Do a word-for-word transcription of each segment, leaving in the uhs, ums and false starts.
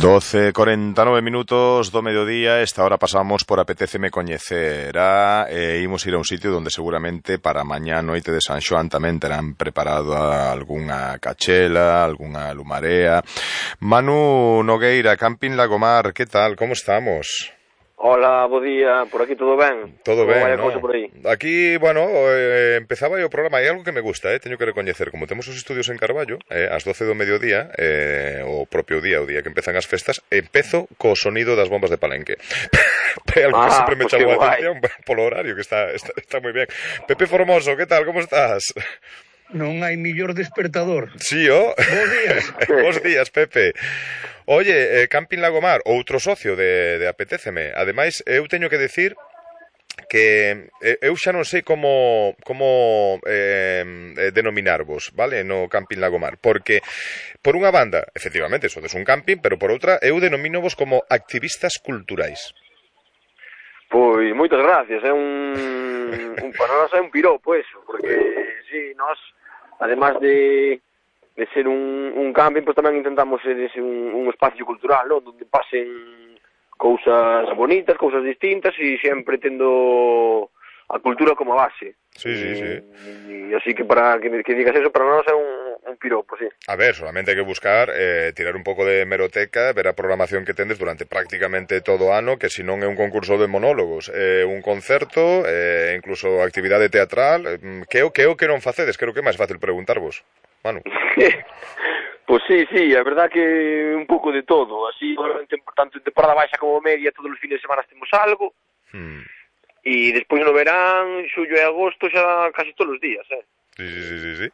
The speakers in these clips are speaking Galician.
doce e corenta e nove minutos do mediodía. Esta hora pasamos por Apetéceme Coñecer e imos ir a un sitio donde seguramente para mañá noite de San Xoán tamén terán preparado algunha cachela, algunha lumarea. Manu Nogueira, Camping Lagomar, que tal? Como estamos? Hola, bo día, por aquí todo ben? Todo ben, no? Por aí? Aquí, bueno, eh, empezaba o programa, hai algo que me gusta, eh, teño que recoñecer, como temos os estudios en Carballo, eh, ás doce do mediodía, eh, o propio día, o día que empezan as festas, empezo co sonido das bombas de Palenque. Algo que ah, sempre me pues chamou a guai. atención polo horario, que está, está, está moi ben. Pepe Formoso, que tal, como estás? Non hai millor despertador. Sí, oh. Bos días. Bos días, Pepe. Oye, eh, Camping Lagomar, outro socio de, de Apetéceme. Ademais, eu teño que decir que eu xa non sei como como eh, denominarvos, vale, no Camping Lagomar, porque por unha banda, efectivamente, sodes un camping, pero por outra, eu denomínovos como activistas culturais. Pois, moitas gracias, é un, un para nós é un piropo eso, porque, si, nós, además de, de ser un, un camping, pois tamén intentamos ser ese un, un espacio cultural, ¿no? Donde pasen cousas bonitas, cousas distintas, e sempre tendo a cultura como base. Sí, sí, sí. E, e así que para que, que digas eso, para nós é un, un piropo, sí. A ver, solamente hai que buscar, eh, tirar un pouco de hemeroteca, ver a programación que tendes durante prácticamente todo o ano, que se non é un concurso de monólogos, é eh, un concerto, eh, incluso actividade teatral, eh, que o que o que non facedes? Creo que é máis fácil preguntarvos, Manu. Pois sí, sí, a verdad que un pouco de todo, así, tanto en temporada baixa como media, todos os fines de semana temos algo, hmm. E despois no verán, xullo e agosto, xa casi todos os días, eh. Sí, sí, sí, sí, sí.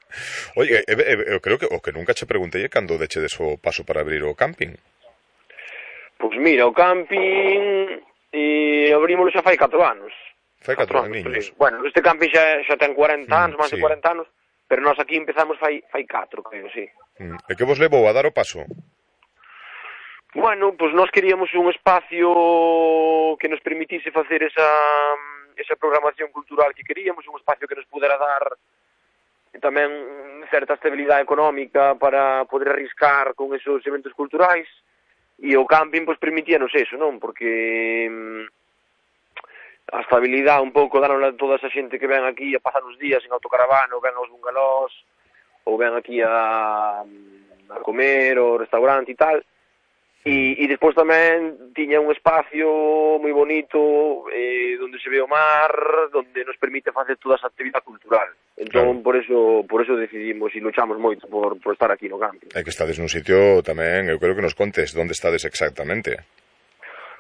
Oye, eu, eu, eu creo que o que nunca che preguntei é cando dechedes o paso para abrir o camping. Pois mira, o camping e abrímoslo xa fai catro anos. Fai catro anos. Bueno, este camping xa, xa ten cuarenta anos, máis sí. de cuarenta anos, pero nós aquí empezamos fai fai catro, creo, sí. Mm. E que vos levou a dar o paso? Bueno, pois nós queríamos un espacio que nos permitise facer esa, esa programación cultural que queríamos, un espacio que nos pudera dar tamén certa estabilidade económica para poder arriscar con esos eventos culturais, e o camping pois permitíanos eso, non? Porque a estabilidade un pouco daron a toda esa xente que ven aquí a pasar os días en autocaravana, ou ven aos bungalós, ou ven aquí a, a comer, ao restaurante e tal. E, e despois tamén tiña un espacio moi bonito eh, onde se ve o mar, onde nos permite facer toda esa actividade cultural. Entón, claro. por eso por eso decidimos e luchamos moito por, por estar aquí no camping. É que estades nun sitio tamén, eu creo que nos contes onde estades exactamente.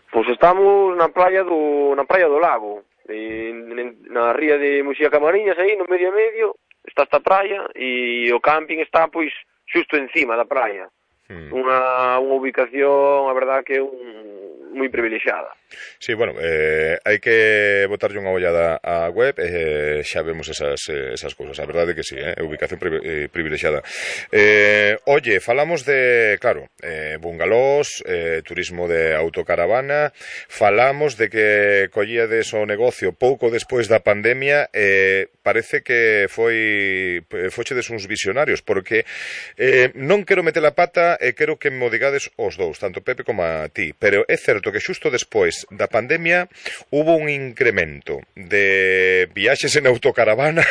Pois estamos na praia do na praia do Lago, en, en, na ría de Muxía Camariñas, aí no medio a medio, está esta praia, e o camping está, pois, xusto encima da praia. Unha, unha ubicación, a verdad, que é un, moi privilexiada. Sí, bueno, eh, hai que botarlle unha ollada á web e eh, xa vemos esas, esas cousas. A verdade que sí, eh, ubicación pri, eh, privilexiada. Eh, oye, falamos de, claro, eh, bungalós, eh, turismo de autocaravana, falamos de que collíades o negocio pouco despois da pandemia, eh, parece que foi fochedes uns visionarios, porque eh, non quero meter a pata e quero que me o digades os dous, tanto Pepe como a ti, pero é certo que xusto despois da pandemia hubo un incremento de viaxes en autocaravana.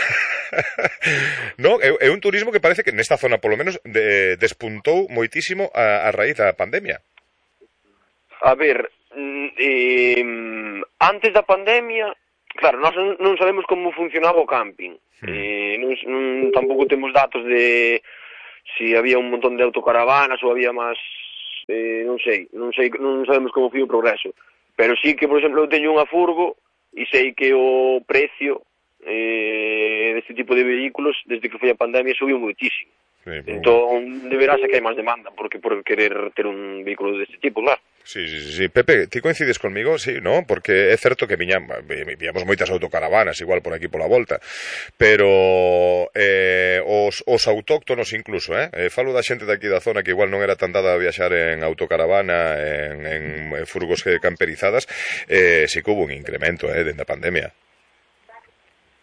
No, é, é un turismo que parece que nesta zona, polo menos, de, despuntou moitísimo a, a raíz da pandemia. A ver, eh, antes da pandemia, claro, nós non sabemos como funcionaba o camping. Hmm. Eh, non, non, tampouco temos datos de si había un montón de autocaravanas ou había máis, eh, non sei, non sei, non sabemos como foi o progreso. Pero sí que, por exemplo, eu teño unha furgo e sei que o precio eh, deste tipo de vehículos, desde que foi a pandemia, subiu moitísimo. Sí, entón, deberá ser que hai máis demanda porque por querer ter un vehículo deste tipo, claro. Sí, sí, sí. Pepe, ti coincides conmigo? Sí, ¿no? Porque é certo que viña, viñamos moitas autocaravanas igual por aquí pola volta, pero eh, os, os autóctonos incluso, eh? eh falo da xente daqui da zona que igual non era tan dada a viaxar en autocaravana, en, en furgos camperizadas, eh, si que hubo un incremento, eh, dende a pandemia.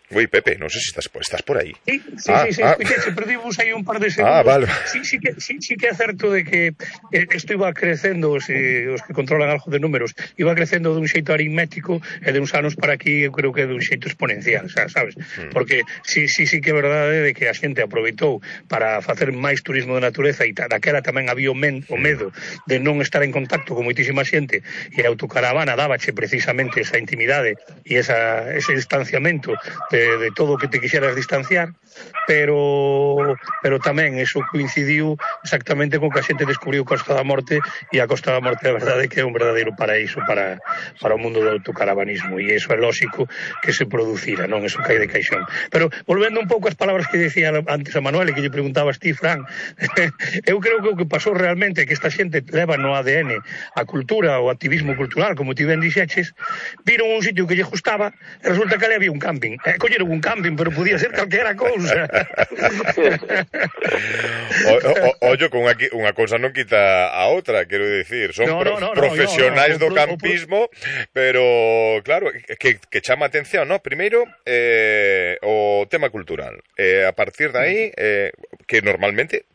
Ui, Pepe, non sei se estás, estás por aí. Sí, sí, ah, sí, sí, ah. escuché, perdimos aí un par de segundos. Ah, vale. Sí, sí que, sí, sí que é certo de que isto iba crecendo, os, os que controlan algo de números, iba crecendo dun xeito aritmético e de uns anos para aquí eu creo que é dun xeito exponencial, sabes? Mm. Porque sí, sí, sí que é verdade de que a xente aproveitou para facer máis turismo de natureza e daquela tamén había o, men, o medo de non estar en contacto con moitísima xente e a autocaravana dábache precisamente esa intimidade e esa, ese distanciamento de, de todo o que te quixeras distanciar, pero pero tamén eso coincidiu exactamente con que a xente descubriu Costa da Morte e a Costa da Morte a verdade que é un verdadeiro paraíso para, para o mundo do autocaravanismo e eso é lógico que se producira, non? Eso cae de caixón. Pero volvendo un pouco ás palabras que decía antes a Manuel e que lle preguntabas ti, Fran, eu creo que o que pasou realmente é que esta xente leva no A D N a cultura, o activismo cultural, como ti ben dixeches, viron un sitio que lle gustaba e resulta que ali había un camping. E colleron un camping, pero podía ser calquera cousa. o, o, ollo, con unha, unha cousa non quita a outra, quero dicir, son no, pro, no, no, profesionais no, no, do campismo, pero claro, que, que chama atención, ¿no? Primeiro, eh, o tema cultural. Eh, a partir de aí, eh, que normalmente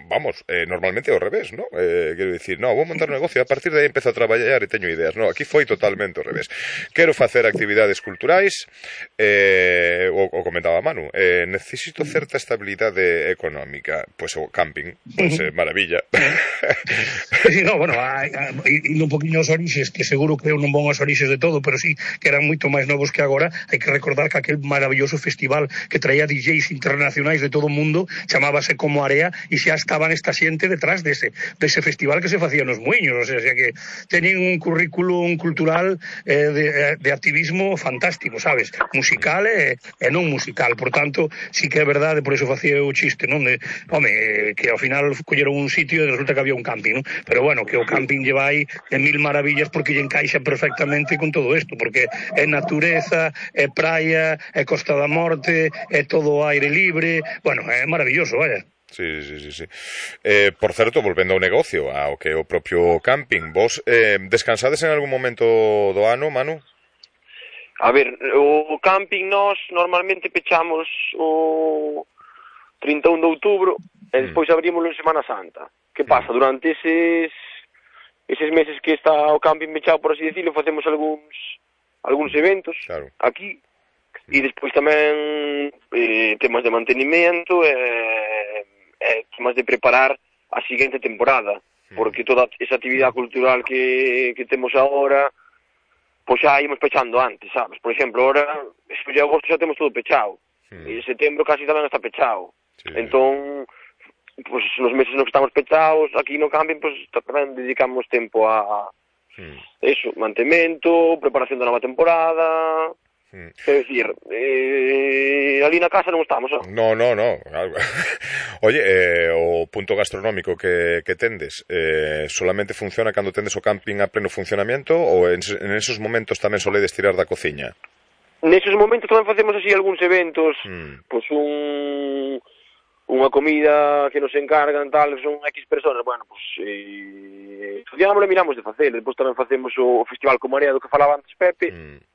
vamos, eh, normalmente ao revés, ¿no? Eh, quero dicir, no, vou montar un negocio, a partir de aí empezo a traballar e teño ideas, no, aquí foi totalmente ao revés. Quero facer actividades culturais, eh, o, o comentaba Manu, eh, necesito certa estabilidade económica, pois pues, o camping, pois pues, eh, maravilla. Sí, no, bueno, hai, hai, un poquinho os orixes, que seguro que eu non vou aos orixes de todo, pero sí, que eran moito máis novos que agora, hai que recordar que aquel maravilloso festival que traía D Js internacionais de todo o mundo, chamábase Como Area, e xa estaban esta xente detrás dese, dese festival que se facía nos Muiños, o sea, o sea que teñen un currículum cultural eh, de, de activismo fantástico, sabes, musical e, e non musical, por tanto, sí que é verdade, por eso facía o chiste, non, de, home, que ao final colleron un sitio e resulta que había un camping, non? Pero bueno, que o camping lle vai de mil maravillas porque lle encaixa perfectamente con todo isto, porque é natureza, é praia, é Costa da Morte, é todo aire libre, bueno, é maravilloso, vaya. Sí, sí, sí, sí. Eh, por certo, volvendo ao negocio, ao que é o propio camping, vos eh, descansades en algún momento do ano, Manu? A ver, o camping nós normalmente pechamos o trinta e un de outubro e despois abrimos en Semana Santa. Que pasa? Durante eses eses meses que está o camping pechado, por así decirlo, facemos algúns algúns eventos claro. Aquí e despois tamén eh, temas de mantenimento e eh, eh, temas de preparar a seguinte temporada, porque toda esa actividade cultural que, que temos agora, pois xa ímos pechando antes, sabes? Por exemplo, ahora, eso de agosto xa temos todo pechado, mm. e setembro casi tamén está pechado. Sí. Entón, pois nos meses nos que estamos pechados, aquí no camping, pois tamén dedicamos tempo a, mm. eso, mantemento, preparación da nova temporada... Mm. Quero dicir, eh, ali na casa non estamos, ¿no? No, no, no. Oye, eh, o punto gastronómico que, que tendes, eh, solamente funciona cando tendes o camping a pleno funcionamento ou en, en esos momentos tamén soledes tirar da cociña? Neses momentos tamén facemos así algúns eventos, mm. pois pues un... unha comida que nos encargan, tal, son X personas, bueno, pois pues, eh, estudiámoslo e miramos de facer, depois tamén facemos o Festival Como Area do que falaba antes Pepe, mm.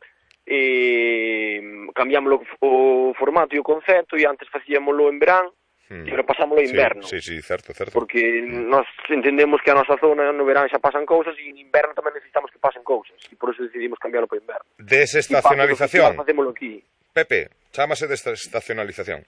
e cambiamos o, o formato e o concepto e antes facíamoslo en verán hmm. e agora pasámoslo en inverno sí, sí, sí, certo, certo. Porque hmm. nós entendemos que a nosa zona no verán xa pasan cousas e en inverno tamén necesitamos que pasen cousas e por eso decidimos cambiarlo para inverno. Desestacionalización facémoslo aquí. Pepe, chámase desestacionalización.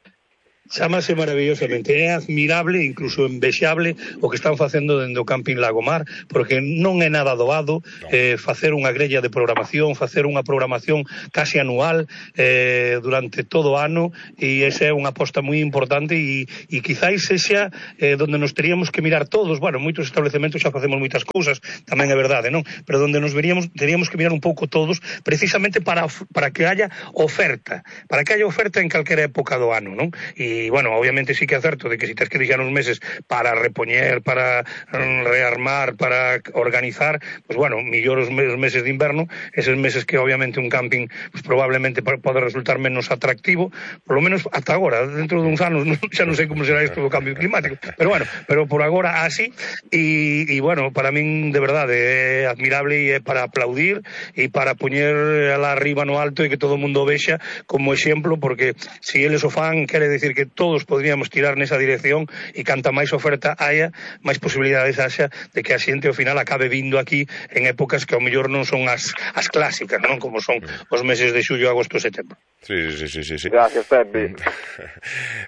Chámase maravillosamente, é admirable, incluso envexable o que están facendo dende o Camping Lagomar, porque non é nada doado no. eh, facer unha grella de programación, facer unha programación casi anual eh, durante todo o ano, e esa é unha aposta moi importante e, e quizáis sexa eh, donde nos teríamos que mirar todos, bueno, moitos establecementos xa facemos moitas cousas, tamén é verdade, non? Pero donde nos veríamos, teríamos que mirar un pouco todos, precisamente para, para que haya oferta, para que haya oferta en calquera época do ano, non? E e, bueno, obviamente sí que é certo de que si tens que deixar uns meses para repoñer, para rearmar, para organizar, pues bueno, millor os meses de inverno, eses meses que obviamente un camping pues, probablemente pode resultar menos atractivo, por lo menos ata agora, dentro de uns anos non, xa non sei como será isto do cambio climático, pero bueno, pero por agora así, e, e bueno, para min de verdade é admirable e é para aplaudir e para poñer alá arriba no alto e que todo o mundo vexa como exemplo, porque se si eles o fan quere decir que todos podríamos tirar nesa dirección e canta máis oferta haya, máis posibilidades haxa de que a xente ao final acabe vindo aquí en épocas que ao mellor non son as, as clásicas, non? Como son os meses de xullo, agosto e setembro. Sí, sí, sí, sí, sí. Gracias, Pepe.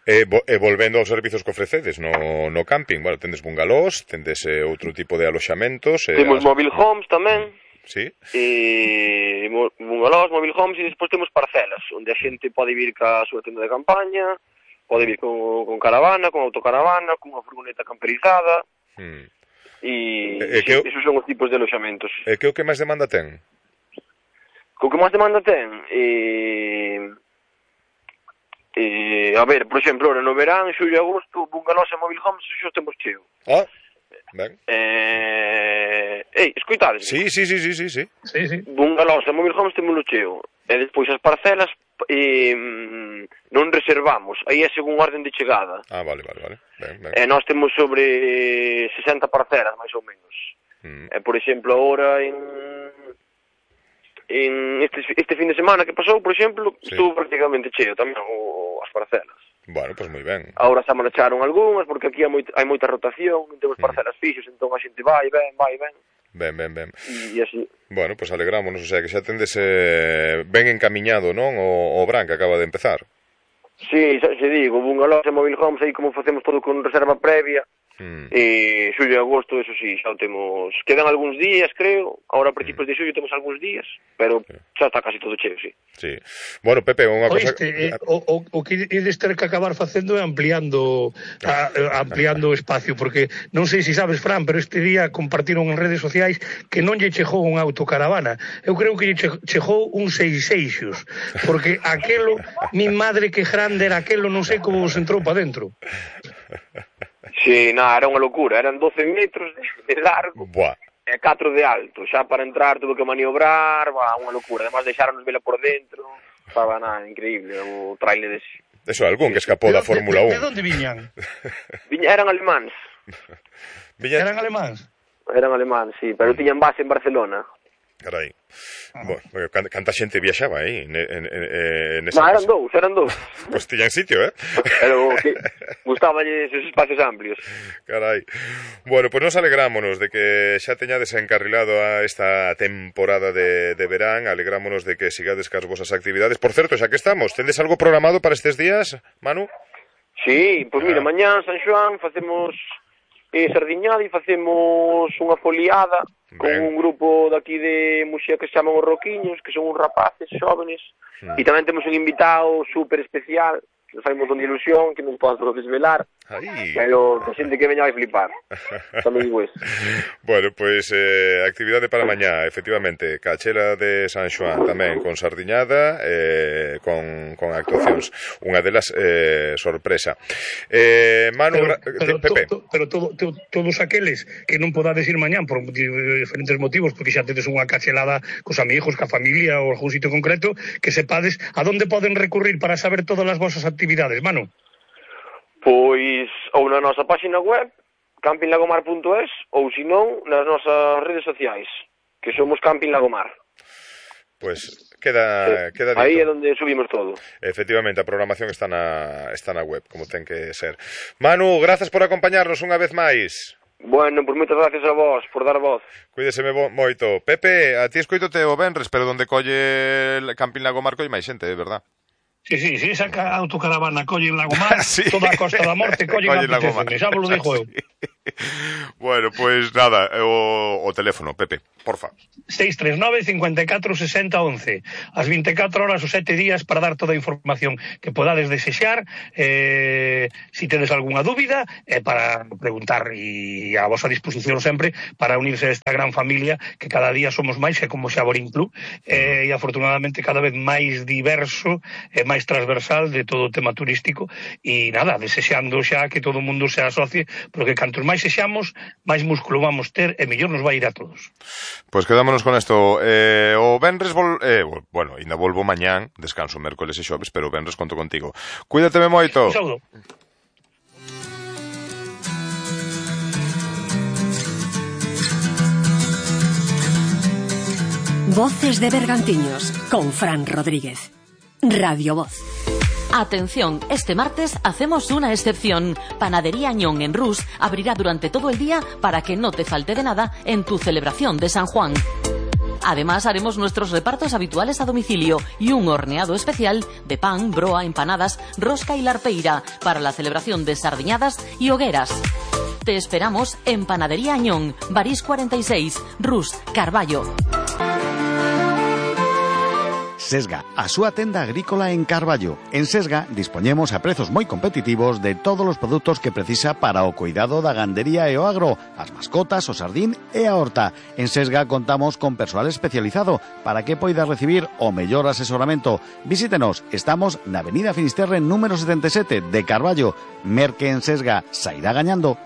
E, e volvendo aos servizos que ofrecedes no, no camping, bueno, tendes bungalós, tendes eh, outro tipo de aloxamentos. Eh, temos as... mobile homes tamén. Sí. E bungalós, mobile homes, e despois temos parcelas, onde a xente pode vir ca súa tenda de campaña, pode vir con, con caravana, con autocaravana, con unha furgoneta camperizada. Hmm. E, e sí, esos son os tipos de aloxamentos. E que o que máis demanda ten? O que máis demanda ten? E, e, a ver, por exemplo, ahora no verán, xullo e agosto, bungalós e mobile homes, xo temos cheo. Ah, ben. Eh, ei, escoitades? Sí, sí, sí, sí, sí, sí. Sí, sí. Bungalós e mobile homes temos cheo. E despois as parcelas e, non reservamos, aí é según orden de chegada. Ah, vale, vale, vale. Ben, ben. E nós temos sobre sesenta parcelas, máis ou menos. Mm. E, por exemplo, agora en, en este, este fin de semana que pasou, por exemplo, sí, estuvo prácticamente cheo tamén o, as parcelas. Bueno, pois pues moi ben. Agora xa marcharon algunhas, porque aquí hai, moi, hai moita rotación, non temos parcelas mm. fixos, entón a xente vai, ben, vai, ben. Ben, ben, ben. E así. Bueno, pois pues alegrámonos, o sea, que xa tendes eh, ben encamiñado, non? O, o Bran que acaba de empezar. Sí, xa se digo, bungalós e mobile homes, aí como facemos todo con reserva previa, mm. e xullo e agosto, eso sí, xa o temos, quedan algúns días, creo, agora a principios mm. de xullo temos algúns días, pero xa está casi todo cheo, sí. Sí. Bueno, Pepe, unha cosa... Oiste, eh, o, o, o que ides ter que acabar facendo é ampliando a, ampliando o espacio, porque non sei se sabes, Fran, pero este día compartiron en redes sociais que non lle chegou unha autocaravana. Eu creo que lle chegou un seis eixos, porque aquelo, mi madre que grande era aquelo, non sei como vos entrou para dentro. Sí, nada, era unha locura, eran doce metros de largo. Buah. E catro de alto, xa para entrar tuve que maniobrar, va, unha locura, además deixaronnos vela por dentro, estaba nada, increíble, o trailer ese. Eso, algún que escapou da Fórmula un. De, de, de onde viñan? Viña, eran alemáns. Viña... Eran alemáns? Eran alemáns, sí, pero tiñan base en Barcelona. Carai. Ah. Bueno, canta xente viaxaba aí en, en, en esa no, eran casa. dous, eran dous. Pois pues tiñan sitio, eh? Pero que gustaballe esos espacios amplios. Carai. Bueno, pois pues nos alegrámonos de que xa teñades encarrilado a esta temporada de, de verán, alegrámonos de que sigades cas vosas actividades. Por certo, xa que estamos, tendes algo programado para estes días, Manu? Sí, pois pues mira, ah. mañá San Xoán facemos eh, sardiñada e facemos unha foliada con ben. Un grupo daqui de Muxía que se chaman os Roquiños, que son uns rapaces xóvenes, mm. e tamén temos un invitado super especial, que nos fai un montón de ilusión, que non podo desvelar, Ay. pero que xente que veña vai flipar. Tamén digo eso. Bueno, pois pues, eh, actividade para mañá, efectivamente, Cachela de San Xoán tamén, con sardiñada, eh, con, con actuacións. Unha delas eh, sorpresa. Eh, Manu, pero, pero, Pepe. To, to, pero todo, to, todos aqueles que non podades ir mañán por diferentes motivos, porque xa tedes unha cachelada cos amigos, ca familia ou algún sitio concreto, que sepades a donde poden recurrir para saber todas as vosas actividades, Manu. Pois ou na nosa página web camping lagomar punto es ou senón nas nosas redes sociais, que somos Camping Lagomar. Pois queda sí. queda dito. Aí é onde subimos todo. Efectivamente, a programación está na está na web, como ten que ser. Manu, grazas por acompañarnos unha vez máis. Bueno, pois moitas gracias a vos por dar voz. Cuídeseme moito. Pepe, a ti escoitote o venres, pero onde colle Camping Lagomar colle máis xente, é verdad? Sí, sí, sí, esa autocaravana colle en Lagomar, sí. Toda a Costa da Morte colle en Lagomar. Xa vos lo dijo eu. Bueno, pois pues nada, o, o teléfono, Pepe, porfa. seis tres nove, cinco catro, seis cero, once. As vinte e catro horas os sete días para dar toda a información que podades desexar, eh, si tedes algunha dúbida, eh, para preguntar, e a vosa disposición sempre para unirse a esta gran familia que cada día somos máis, e como Xaborín Club, eh, e afortunadamente cada vez máis diverso e máis transversal de todo o tema turístico, e nada, desexando xa que todo o mundo se asocie, porque cantos máis sexamos, máis músculo vamos ter e mellor nos vai ir a todos. Pois pues quedámonos con esto. Eh, o venres, vol... eh, bueno, ainda volvo mañán, descanso mércoles e xoves, pero o venres conto contigo. Cuídateme moito. Un saúdo. Voces de Bergantiños, con Fran Rodríguez. Radio Voz. Atención, este martes hacemos una excepción. Panadería Añón en Rus abrirá durante todo el día para que no te falte de nada en tu celebración de San Juan. Además, haremos nuestros repartos habituales a domicilio y un horneado especial de pan, broa, empanadas, rosca y larpeira para la celebración de sardiñadas y hogueras. Te esperamos en Panadería Añón, Barís cuarenta y seis, Rus, Carballo. Sesga, a súa tenda agrícola en Carballo. En Sesga dispoñemos a prezos moi competitivos de todos os produtos que precisa para o cuidado da gandería e o agro, as mascotas, o sardín e a horta. En Sesga contamos con persoal especializado para que poida recibir o mellor asesoramento. Visítenos, estamos na Avenida Finisterre número setenta e sete de Carballo. Merque en Sesga, sairá gañando.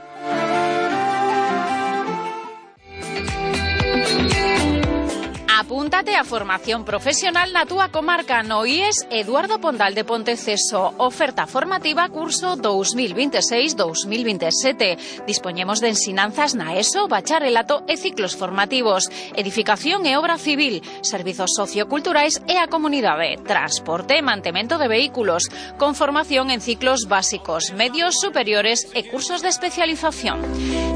Apúntate a formación profesional na túa comarca no I E S Eduardo Pondal de Ponteceso. Oferta formativa curso dos mil veintiséis dos mil veintisiete. Dispoñemos de ensinanzas na ESO, bacharelato e ciclos formativos, edificación e obra civil, servizos socioculturais e a comunidade, transporte e mantemento de vehículos, con formación en ciclos básicos, medios, superiores e cursos de especialización.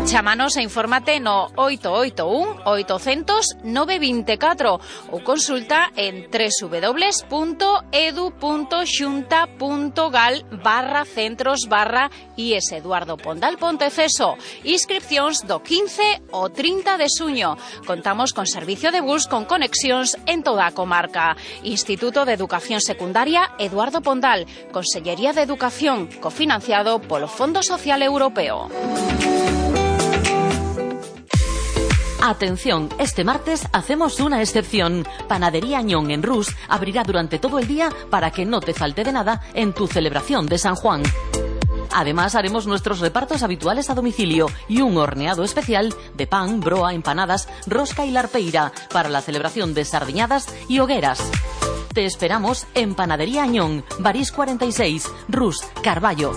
Chámanos e infórmate no oito oito un, oito cero cero, nove dos catro ou consulta en w w w punto edu punto xunta punto gal barra centros barra I E S Eduardo Pondal Ponteceso. Inscripcións do quince ao trinta de xuño. Contamos con servicio de bus con conexións en toda a comarca. Instituto de Educación Secundaria Eduardo Pondal. Consellería de Educación, cofinanciado polo Fondo Social Europeo. Atención, este martes hacemos una excepción. Panadería Añón en Rus abrirá durante todo el día para que no te falte de nada en tu celebración de San Juan. Además, haremos nuestros repartos habituales a domicilio y un horneado especial de pan, broa, empanadas, rosca y larpeira para la celebración de sardiñadas y hogueras. Te esperamos en Panadería Añón, Barís cuarenta y seis, Rus, Carballo.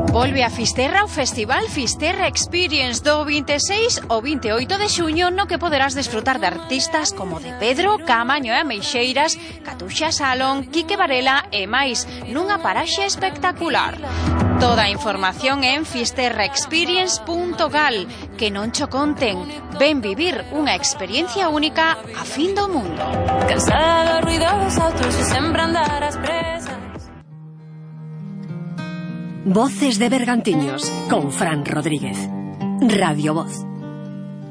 Volve a Fisterra o Festival Fisterra Experience do veintiséis ao veintioito de xuño, no que poderás desfrutar de artistas como de Pedro, Camaño e Ameixeiras, Catuxa Salón, Quique Varela e máis, nunha paraxe espectacular. Toda a información en fisterra experience punto gal. Que non cho conten. Ven vivir unha experiencia única a fin do mundo. Cansada dos ruidos autos e sempre andar ás presas. Voces de Bergantiños, con Fran Rodríguez. Radio Voz.